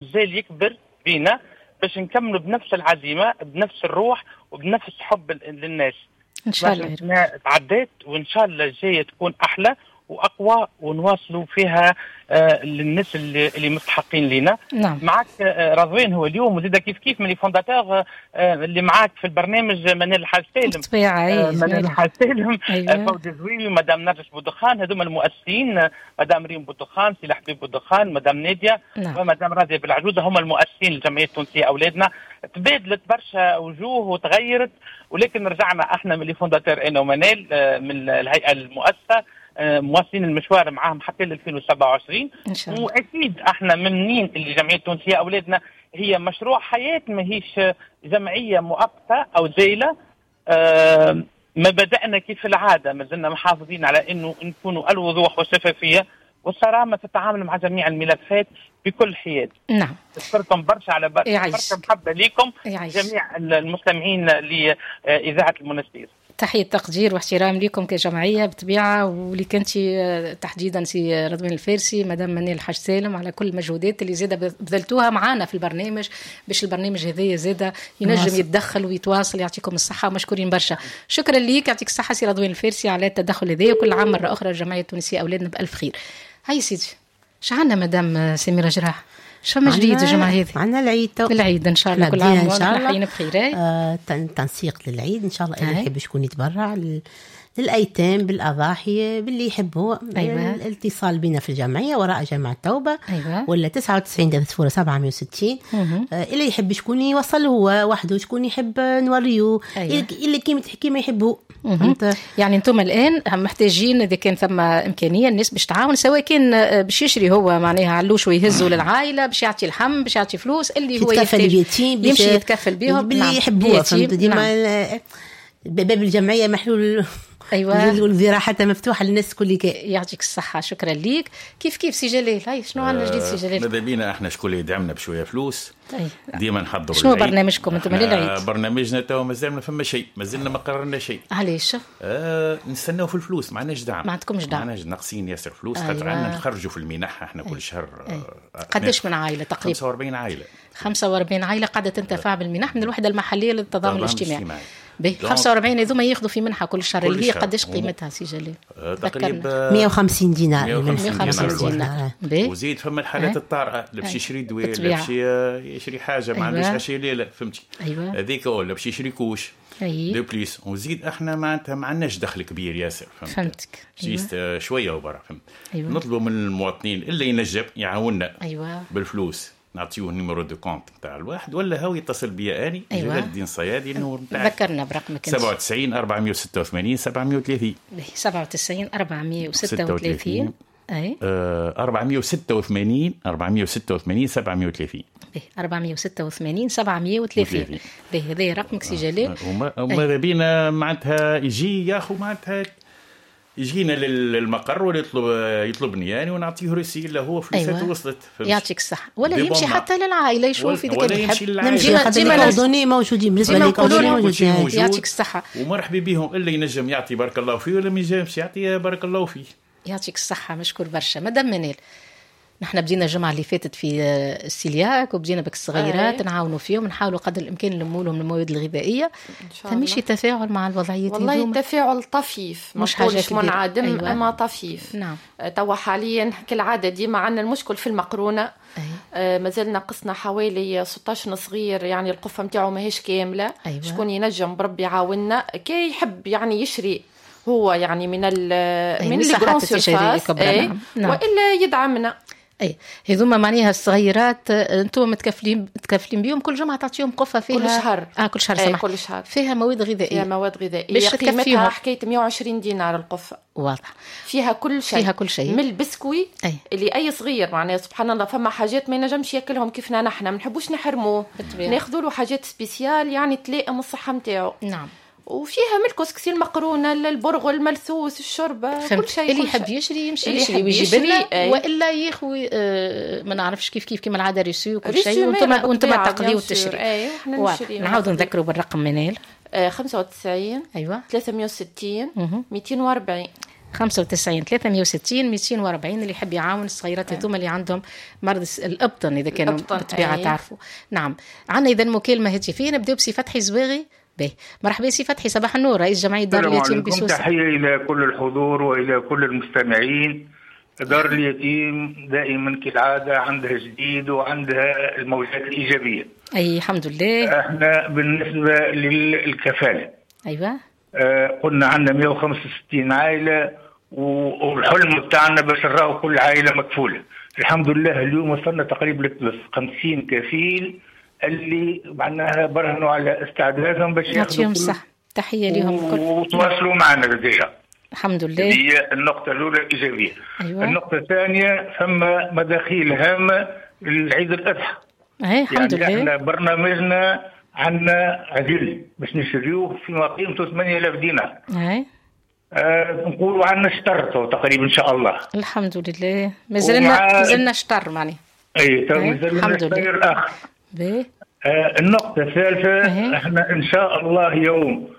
مازال يكبر بينا باش نكملوا بنفس العزيمه، بنفس الروح، وبنفس حب للناس. ان شاء الله. تعديت، وان شاء الله الجاية تكون احلى واقوى ونواصلوا فيها للناس اللي مستحقين لنا. معك رضوان هو اليوم، وزيد كيف كيف من les fondateurs اللي معاك في البرنامج منال الحاج سالم. بالطبيعه. منال الحاج سالم. فوزي زويوي، مدام نرجس بودخان، هذوما المؤسسين، مدام ريم بودخان، سي حبيب بودخان، مدام ناديه ومدام راضية بالعجوزه، هم المؤسسين للجمعية التونسية اولادنا. تبادلت برشا وجوه وتغيرت، ولكن رجعنا احنا من les fondateurs، انا ومنال من الهيئة المؤسسه، مواصلين المشوار معاهم حتى ل 2027. إن شاء الله. واكيد احنا ممنين اللي جمعية التونسية اولادنا هي مشروع حياه، ماهيش جمعية مؤقتة او زايله. ما بدانا كيف العاده، ما زلنا محافظين على انه نكونوا الوضوح والشفافيه والصرامه في التعامل مع جميع الملفات بكل حياد. اشكركم برشا على برشا محبة لكم جميع المستمعين لاذاعة المنستير. تحية تقدير واحترام لكم كجمعية بطبيعة، واللي كنتي تحديدا سي رضوان الفارسي، مدام منال الحاج سالم، على كل المجهودات اللي زادة بذلتوها معانا في البرنامج باش البرنامج هذايا زادة ينجم يتدخل ويتواصل. يعطيكم الصحة ومشكورين برشا. شكرا ليك، يعطيك الصحة سي رضوان الفارسي على التدخل هذايا، وكل عام مرة أخرى الجمعية التونسية أولادنا بألف خير. هاي سيدي، شعنا مدام سميرة جراح، شو ما جديد الجمعة هذه؟ عندنا العيد العيد إن شاء الله، كل عام إن شاء الله بخير. تنسيق للعيد إن شاء الله، اللي يحب شكون يتبرع للأيتام بالأضاحي باللي يحبوا. الاتصال بنا في الجمعية وراء جامعة التوبة. ولا 99 760. اللي يحب شكون يوصل هو وحده، شكون يحب نوريه. اللي كيما تحكي ما يحبه. يعني انتم الآن محتاجين إذا كان ثم إمكانية الناس باش تعاون، سواء كان باش يشري هو معناها علوش ويهزه للعائلة، باش يعطي الحم، باش يعطي فلوس، اللي هو يمشي يتكفل بهم باللي يحبوه. فهمت؟ ديما باب الجمعية محلول. والذراع حتى مفتوحة للناس كل. يعطيك الصحة، شكرا ليك. كيف كيف سي جلال، هاي شنو عندنا جديد سي جلال؟ ماذا بينا احنا شكون اللي يدعمنا بشوية فلوس. ديما نحضروا. شنو برنامجكم انتم للعيد؟ برنامجنا تو مازال ما فما شيء، مازلنا ما قررنا شيء. علاش؟ نستناو في الفلوس، ما عندناش دعم. ما عندكمش دعم؟ ما عندناش، ناقصين ياسر فلوس. خاطر عندنا نخرجوا في المنح احنا كل شهر. قداش من عائلة تقريبا؟ 45 عائلة. 45 عائلة قاعدة تنتفع بالمنح من الوحدة المحلية للتضامن الاجتماعي. 45 هذوما ياخذوا في منحه كل شهر، اللي هي قداش قيمتها سي جلال؟ تقريبا 150 دينار. 150 دينار. وزيد فما الحالات الطارئة، اللي باش يشري دواء، اللي باش يشري حاجة ما عندوش عشية ليلة، فهمتي؟ هذيك، ولا باش يشري couche de plus. وزيد احنا معناتها ما عندناش دخل كبير ياسر، فهمتك؟ juste شوية وبرا، فهمت؟ نطلبوا من المواطنين اللي ينجم يعاوننا بالفلوس، نعطيوه numéro de compte نتاع الواحد، ولا هو يتصل بيا اني. جلال الدين صيادي، ال numéro نتاعي ذكرنا برقمك. 97 486 730. 97 436 اي 486 486 730. 486 730. باهي، هذا رقمك سي جلال. وماذا بينا معناتها يجي ياخذ، معناتها يجينا للمقر ولا يطلبني يعني، ونعطيه reçu اللي هو فلوساته. وصلت. يعطيك الصحة. ولا يمشي حتى للعائلة يشوف إذا كان يحب. نمشي ديما coordonnées موجودين بالنسبة les coordonnées موجودين. يعطيك الصحة ومرحبا بهم، اللي ينجم يعطي بارك الله فيه، ولا ما ينجمش يعطي بارك الله فيه. يعطيك الصحة، مشكور برشا. مدام منال، نحن بدينا الجمعة اللي فاتت في السيلياك، وبدينا بك الصغيرات نعاونوا فيهم، نحاولوا قدر الإمكان نلموا لهم المواد الغذائية. فمشي تفاعل مع الوضعية؟ والله التفاعل طفيف، مش حاجة منعدم. أما طفيف. توا حاليا كالعادة ديما عندنا المشكل في المقرونة. مازال ناقصنا حوالي 16 صغير، يعني القفة متاعه ماهيش كاملة. شكون ينجم بربي يعاوننا، كي يحب يعني يشري هو يعني من من ال grandes surfaces، والا يدعمنا. اي هذوما معناها الصغيرات انتم متكفلين بهم، كل جمعه تعطيهم قفة فيها؟ كل شهر. كل شهر، سمح. كل شهر فيها مواد غذائية. فيها مواد غذائية قيمتها حكاية 120 دينار القفه. واضح، فيها كل شيء. فيها كل شيء من البسكوي اللي اي صغير معناها سبحان الله فما حاجات ما ينجمش ياكلهم كيفنا نحن، ما نحبوش نحرموه، ناخذوا له حاجات spéciales يعني تلائم الصحة نتاعو. وفيها من الكسكسي، المقرونه، البرغل، الملثوث، الشوربة، كل شيء. اللي يحب يشري يمشي يشري ويجيب لنا، والا ياخوي ما نعرفش كيف كيف كيما العادة reçu وكل شيء، وانتم تقضيو وتشري. نعاودوا نذكروا بالرقم منال. 95 360 240. 95 360 240 اللي يحب يعاون الصغيرات هذوما اللي عندهم مرض الابطن اذا كانوا بالطبيعة تعرفوا. نعم، عندنا اذا مكالمة هاتفيه، نبداو بسي فتحي زواغي. باهي، مرحبا سي فتحي، صباح النور، رئيس جمعية دار اليتيم بسوسه. تحية الى كل الحضور والى كل المستمعين. دار اليتيم دائما كالعادة عندها جديد وعندها الموجات الايجابية. اي الحمد لله. احنا بالنسبة للكفاله، ايوه، قلنا عندنا 165 عائلة، والحلم بتاعنا باش نراو كل عائلة مكفوله. الحمد لله اليوم وصلنا تقريبا 50 كفيل اللي معناها برهنوا على استعدادهم باش يعطيهم الصحة، تحية لهم الكل وتواصلوا معنا déjà. الحمد لله. هي النقطة الأولى الإيجابية. أيوة. النقطة الثانية ثم مداخيل هامة للعيد الأضحى. أي الحمد يعني لله. احنا برنامجنا عندنا عجل باش نشريوه فيما قيمته 8000 دينار. أي. نقولوا عندنا شطر تقريبا إن شاء الله. الحمد لله، مازلنا شطر معني. أي مازلنا شطر الآخر. باهي. النقطة الثالثة، احنا إن شاء الله يوم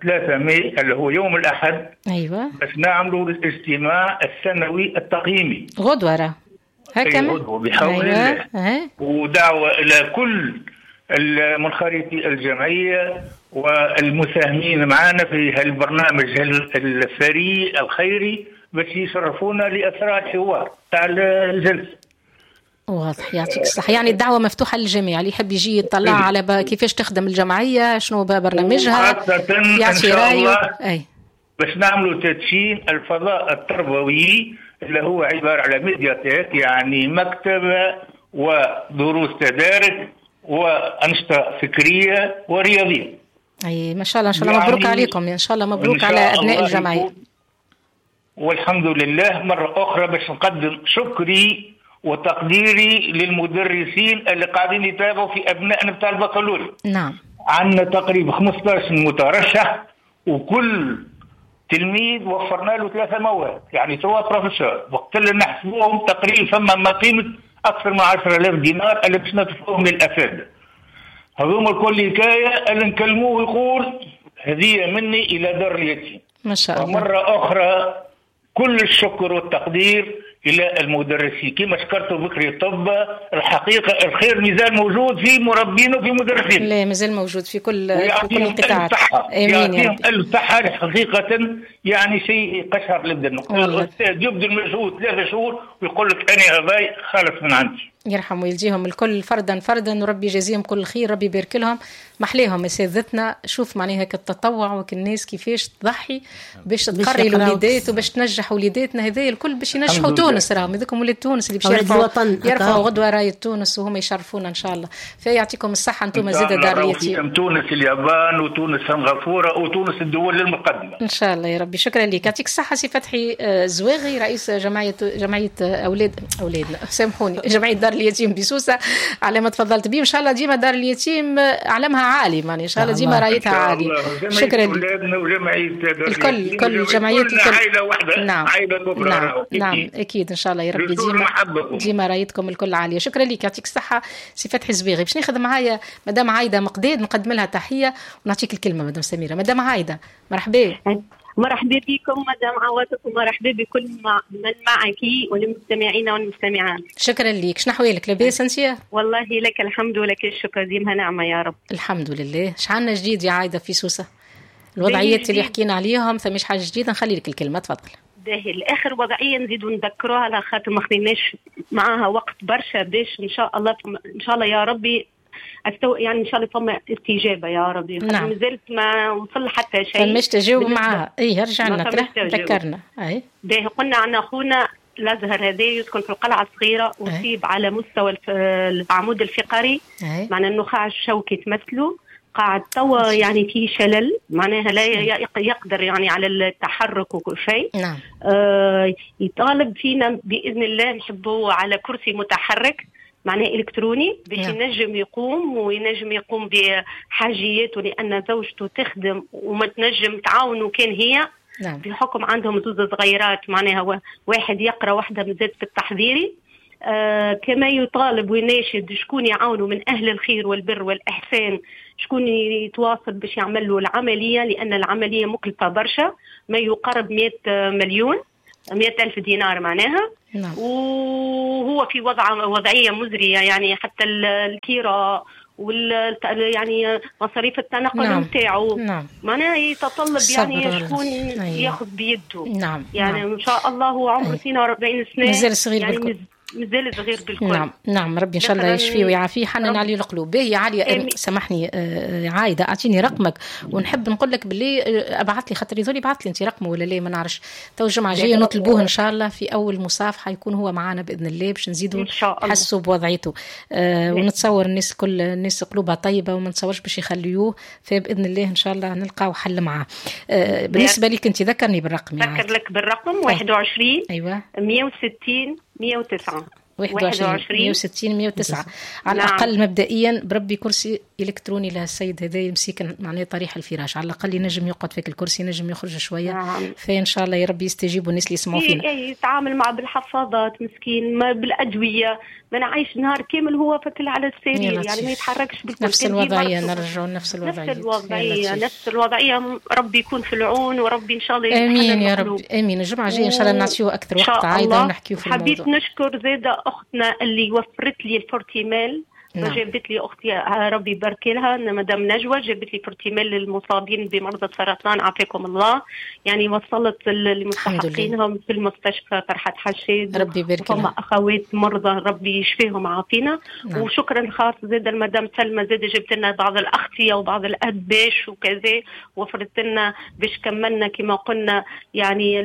3 ماي اللي هو يوم الأحد، أيوة، باش نعملوا الاجتماع السنوي التقييمي غدوة راه هكا غدوة بحول الله. ودعوة إلى كل المنخرطي الجمعية والمساهمين معنا في هالبرنامج الثري الخيري باش يشرفونا لأثراء الحوار تاع الجلسة. واضح، يعطيك الصحة. يعني الدعوة مفتوحة للجميع اللي يحب يجي يطلع على كيفاش تخدم الجمعية، شنو برنامجها، يعطي رأيه. أي باش نعملوا تدشين الفضاء التربوي اللي هو عبارة على médiathèque، يعني مكتبة ودروس تدارك وأنشطة فكرية ورياضية. أي ما شاء الله، إن شاء الله مبروك يعني عليكم، إن شاء الله مبروك على أبناء الجمعية. والحمد لله. مرة أخرى باش نقدم شكري وتقديري للمدرسين اللي قاعدين يتابعوا في أبنائنا بتاع البكالوريا. نعم. عندنا تقريبا 15 مترشح، وكل تلميذ وفرنا له 3 مواد، يعني 3 professeurs. وقت اللي نحسبوهم تقريبا فما ما قيمة أكثر من 10000 دينار اللي باش ندفعوهم للأساتذة. هذوما الكل حكاية اللي نكلموه يقول هدية مني إلى دار اليتيم. ما شاء الله. ومرة أخرى كل الشكر والتقدير إلى المدرسين، كما شكرت بكري الطب، الحقيقة الخير مازال موجود في مربين وفي مدرسين. لا مازال موجود في كل القطاعات. آمين يا رب. ألف صحة حقيقة، يعني شيء قشعر للبدن. الأستاذ يبذل مجهود 3 شهور ويقول لك أنا هذاي خالص من عندي. يرحم ويلجيهم الكل فردا فردا، وربي يجازيهم كل خير، ربي يبارك لهم. محليهم اساتذتنا، شوف معناها التطوع وك الناس كيفاش تضحي باش تقري الوليدات وباش تنجح وليداتنا، هذا الكل باش ينجحوا تونس، راهم هذوكم ولاد تونس اللي باش يرفعوا غدوه رايه تونس وهم يشرفونا ان شاء الله. فيعطيكم الصحة انتم زاد دار اليتيم. تونس اليابان وتونس سنغافورة وتونس الدول المقدمة ان شاء الله يا ربي. شكرا لك، يعطيك الصحة سي فتحي زواغي رئيس جمعية اولادنا سامحوني جمعية دار اليتيم بسوسه على ما تفضلت به. ان شاء الله ديما دار اليتيم علمها عالي، معني ان شاء الله ديما رايتها عالي. شكرا لك. الكل كل الجمعيات الكل عائلة واحدة. نعم عائلة كبرى. نعم نعم اكيد ان شاء الله يا ربي ديما رايتكم الكل عالية. شكرا لك، يعطيك الصحة سي فتحي زبيغي. باش ناخذ معايا مدام عايدة مقداد، نقدم لها تحية ونعطيك الكلمة مدام سميرة. مدام عايدة مرحبا. مرحبا بكم مدام عواطف، ومرحبا بكل من معك والمستمعين والمستمعات. شكرا لك، شنو احوالك؟ لاباس انت؟ والله لك الحمد ولك الشكر، ديما نعمه يا رب. الحمد لله. شعلنا جديد يا عايدة في سوسة؟ الوضعيات اللي حكينا عليهم ثماش حاجة جديدة؟ نخلي لك الكلمة تفضل. باهي، الاخر وضعية نزيدوا نذكروها على خاطر ما خديناش معاها وقت برشا، باش ان شاء الله ان شاء الله يا ربي يعني ان شاء الله فما استجابة يا ربي. نعم. مازالت ما وصل حتى شيء، فماش تجاوب معاها. اي رجع لنا ذكرنا. اي باهي، قلنا عن اخونا الازهر هذا يسكن في القلعة الصغيرة، اصيب على مستوى العمود الفقري، معنى النخاع الشوكي تمثله، قاعد توا يعني في شلل، معناها لا يقدر يعني على التحرك وكل شيء. نعم. يطالب فينا باذن الله نحبوه على كرسي متحرك معناه إلكتروني باش ينجم يقوم وينجم يقوم بحاجياته، لأن زوجته تخدم وما تنجم تعاونه كان هي. نعم. بحكم عندهم زوز صغيرات، معناها واحد يقرأ واحدة مازالت في التحضيري. كما يطالب ويناشد شكون يعاونه من أهل الخير والبر والإحسان، شكون يتواصل باش يعمل له العملية، لأن العملية مكلفة برشا، ما يقارب 100 مليون، 100 ألف دينار معناها. نعم. وهو في وضعية مزرية، يعني حتى الكيرة وال يعني مصاريف التنقل نتاعو. نعم. معناها يتطلب يعني شكون ياخذ بيده. نعم. يعني نعم. إن شاء الله هو عمره 42 سنة، مازال صغير يعني بالكل. مازال صغير بالكل. نعم نعم، ربي ان شاء الله يشفيه ويعافيه، حنن عليه القلوب. باهي عالية، سامحني عايدة، اعطيني رقمك ونحب نقول لك باللي ابعث لي، خاطر يظل يبعث لي انت رقمه ولا لا ما نعرفش. تو الجمعة الجاية نطلبوه ان شاء الله في اول مصافحه يكون هو معنا باذن الله باش نزيدوا نحسوا بوضعيته. ونتصور الناس كل الناس قلوبها طيبة وما نتصورش باش يخليوه، فباذن الله ان شاء الله نلقاو حل معاه. بالنسبة لك انت ذكرني بالرقم. ذكر لك بالرقم 21 ايوه 160 109 21 160 109 على الأقل. نعم. مبدئيا بربي كرسي إلكتروني لهالسيد هذا يمسك معناه طريح الفراش، على الأقل ينجم يقعد فيك الكرسي، ينجم يخرج شوية. نعم. فإن شاء الله يا ربي يستجيبوا الناس اللي يسمعوا فينا. يتعامل مع بالحفاضات مسكين، ما بالأدوية، ما نعيش نهار كامل هو فكل على السرير، يعني ما يتحركش بالكل. نفس الوضعية، نرجعوا نفس الوضعية، نفس الوضعية. ربي يكون في العون، وربي إن شاء الله آمين يا رب آمين. الجمعة الجاية إن شاء الله نعطيه أكثر وقت عايدة ونحكيو في الموضوع. حبيت نشكر زادة أختنا اللي وفرت لي الفورتيمال. نعم. جابت لي أختي ربي يبارك لها، مدام نجوى، جابت لي فورتيمال للمصابين بمرض السرطان عافاكم الله، يعني وصلت لمستحقينهم في المستشفى فرحة حشاد، ربي يبارك لها. أخوات مرضى ربي يشفيهم عافينا. نعم. وشكرا خاص زاد المدام سلمى، زاد جبت لنا بعض الأغطية وبعض الأدباش وكذا، وفرت لنا باش كملنا كما قلنا يعني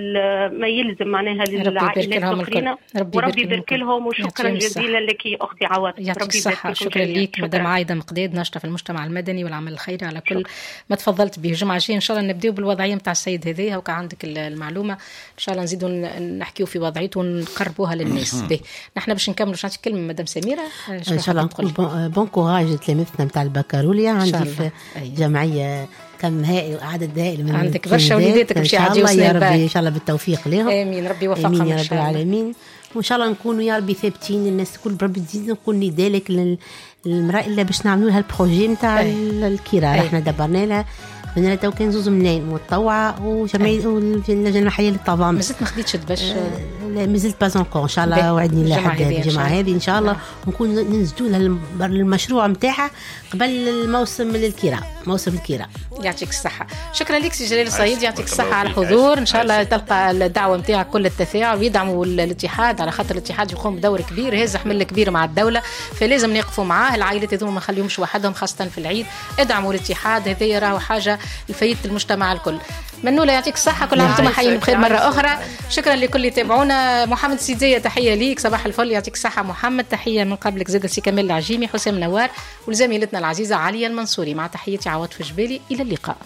ما يلزم معناها للعائلات الأخرين، وربي يبارك لهم. وشكرا جزيلا لك أختي عواد، ربي يبارك. شكرا لك مدام عايدة مقداد، ناشطة في المجتمع المدني والعمل الخيري، على كل ما تفضلت به. الجمعة الجاية إن شاء الله نبداو بالوضعية نتاع السيد هذايا، وكا عندك المعلومة إن شاء الله نزيدوا نحكيو في وضعيته ونقربوها للناس. به نحن باش نكملوا، باش نعطيك كلمة مدام سميرة. إن شاء الله نقول bon courage لتلامذتنا نتاع البكالوريا. عندي في جمعية كم هائل، عدد هائل من عندك برشا وليداتك باش يعديو سنة الباك. إن شاء الله بالتوفيق لهم. آمين، ربي يوفقهم آمين يا رب العالمين. وإن شاء الله نكونوا يا ربي ثابتين الناس الكل، بربي تزيد نقول نداء لك للمرأة إلا باش نعملوا لها ال projet نتاع الكرا. احنا دبرنا لها خدنا لها تو كان 2 ملايين متطوعة وجمعية واللجنة المحلية للتضامن. مازلت ما خديتش باش لا مازلت pas encore ان شاء الله، وعدني الله حد الجمعة هذه ان شاء الله ونكون ننزلوا لها المشروع نتاعها قبل الموسم للكرا، موسم الكرا. يعطيك الصحة. شكرا لك سي جلال الصيد، يعطيك الصحة على الحضور. ان شاء الله تلقى الدعوة نتاعك كل التفاعل ويدعموا الاتحاد، على خاطر الاتحاد يقوم بدور كبير، هز حمل كبير مع الدولة، فلازم نقفوا معاه. العائلات هذوما ما نخليهمش وحدهم، خاصة في العيد. ادعموا الاتحاد، هذا راهو حاجة الفايدة المجتمع الكل. منولة يعطيك الصحة، كل عام وانتم حيين بخير مرة أخرى. شكرا لكل اللي تابعونا. محمد سيدية تحية ليك، صباح الفل، يعطيك الصحة محمد. تحية من قبلك زاد سي كمال العجيمي، حسام نوار، ولزميلتنا العزيزة عليا المنصوري، مع تحيتي عواطف جبالي. إلى اللقاء.